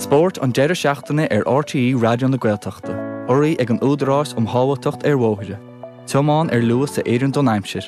Spórt an deireadh seachtaine ar RTÉ Raidió na Gaeltachta, urraithe ag an Údarás um Shábháilteacht ar Bhóithre. Tiomáin ar luas a oireann don aimsir.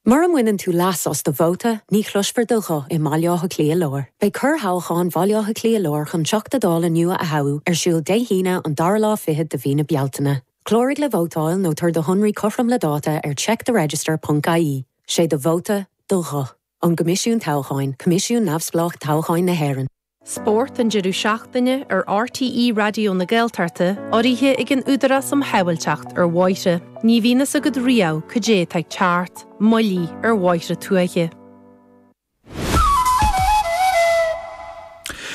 Mura mbaineann tú leas as do vóta, ní chloisfear do ghuth i mBaile Átha Cliath Láir. Beidh corrthoghchán Bhaile Átha Cliath Láir chun Teachta Dála nua a thoghadh ar siúl Dé hAoine an dara lá fichead de mhí na Bealtaine. Cláraigh le vótáil nó tabhair do shonraí cothrom le dáta ar checktheregister ponc ie. Sé do vóta, do ghuth. Ón gCoimisiún Toghcháin, Coimisiún Neamhspleách Toghcháin na hÉireann. Spórt an deireadh seachtaine ar RTÉ Raidió na Gaeltachta, urraithe ag an Údarás um Shábháilteacht ar Bhóithre. Ní bhíonn fhios agat riamh cad é atá ag teacht, moillí ar bhóithre tuaithe.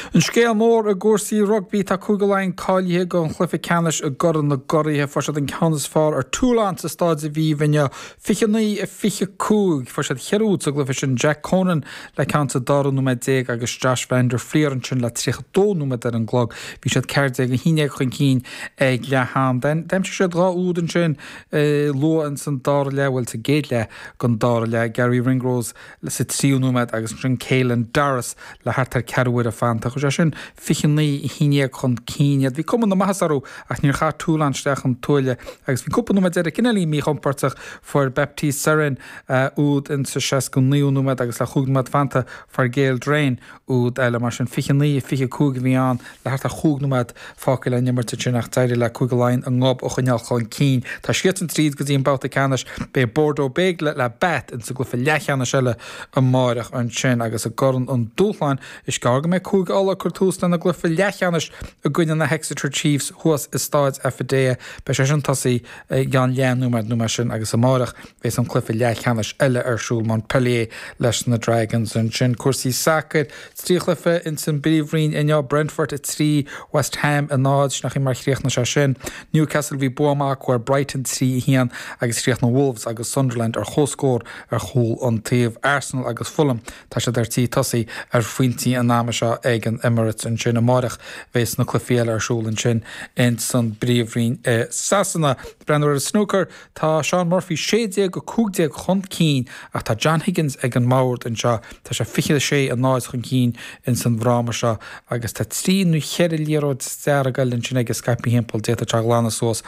An scéal mór i gcúrsaí rugbaí, tá Cúige Laighean cáilithe don chluiche ceannais i gCorn na gCuraithe. Fuair siad an ceann is fearr ar Toulon sa Stáid Aviva inniu, 29, 25. Fuair siad cheithre úd sa gcluiche sin, Jack Conan le ceann sa dara nóiméad déag agus Josh van der Flier ansin le 32 nóiméad ar an gclog. Bhí siad 14, 11 chun cinn ag leath am. D'aimsigh siad dhá úd ansin luath ins an dara leath, bhuel sa gcéad leath den dara leath, Garry Ringrose sa tríú nóiméad agus ansin Caelan Doris le thart ar ceathrú uaire fanta. Chuir sé sin 29, 11 chun cinn iad. Bhí cuma na maitheasa orthu ach níor chaith Toulon isteach an tuaille agus bhí cúpla nóiméad deiridh cineáilín míchompordach. Fuair Baptiste Serin úd in sa 69ú nóiméad agus le chúig nóiméad fanta fuair Gael Drouin úd eile. Mar sin 29, 25 a bhí ann le thart ar chúig nóiméad fágtha le n-imirt ansin ach d'éirigh le Cúige Laighean a ngob a choinneáil chun cinn. Tá siadsan tríd go dtí an babhta ceannais. Beidh Bordeaux Bègles le Bath insa gcluiche leathcheannais eile amáireach ansin agus i gCorn an Dúshláin is gearr go mbeidh Cúige Uladh ag cur tús lena gcluiche leathcheannais i gcoinne na hExeter Chiefs thuas i Stáid Affidea. Beidh sé sin tosaithe i gceann leathnóiméad nó mar sin agus amáireach bheas an cluiche leathcheannais eile ar siúl, Montpellier leis na Dragons ansin. Cúrsaí sacair, 3 chluiche ins an bPríomhroinn inniu, Brentford 3, West Ham 0, sin an chaoi mar chríochnaigh sé sin. Newcastle bhí bua maith acu ar Brighton 3, 1 agus chríochnaigh Wolves agus Sunderland ar comhscór ar chúl an taobh. Arsenal agus Fulham, tá siad ar tí tosaí ar phointí an ama seo ag an Emirates ansin. Amáireach bheas na cluichí eile ar siúl ansin ins an bPríomhroinn i Sasana. Breathnú ar an snúcar, tá Shaun Murphy 16-15 chun cinn ach tá John Higgins ag an mbord anseo. Tá sé 26, 0 chun cinn ins an bhfráma seo agus tá trí nó cheithre liathróid dearg eile ansin aige scaipthe thimpeall. D'fhéadfadh sé a ghlanadh suas.